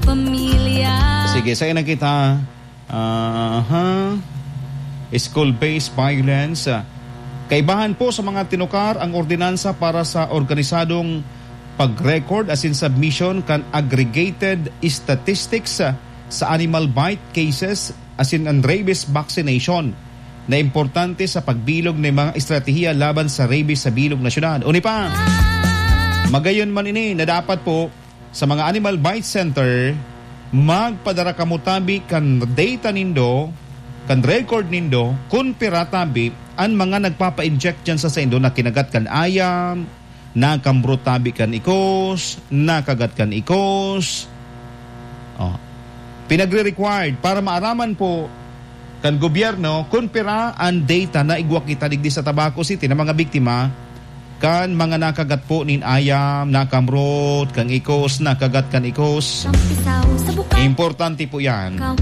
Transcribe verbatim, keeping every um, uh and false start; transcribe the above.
Pamilya. Sige, sa ina kita. Aha. School-based violence. Kaibahan po sa mga tinukar ang ordinansa para sa organisadong pag-record asin submission kan aggregated statistics sa animal bite cases asin an rabies vaccination na importante sa pagbilog nin mga estratehiya laban sa rabies sa bilog na syudad. Uni pa, magayon man ini na dapat po sa mga animal bite center, magpadara kamo tabi kan data nindo, kan record nindo, kun pira tabi an mga nagpapa-inject diyan sa saindo na kinagat kan ayam, nakambrot tabi kan ikos, nakagat kan ikos. Oh. Pinagre-required para maaraman po kan gobyerno kun pira an data na igwa kita digdi sa Tabaco City na mga biktima kan mga nakagat po nin ayam, nakamrot kan ikos, nakagat kan ikos. Tampisaw sa bukaw. Importante po yan. Ang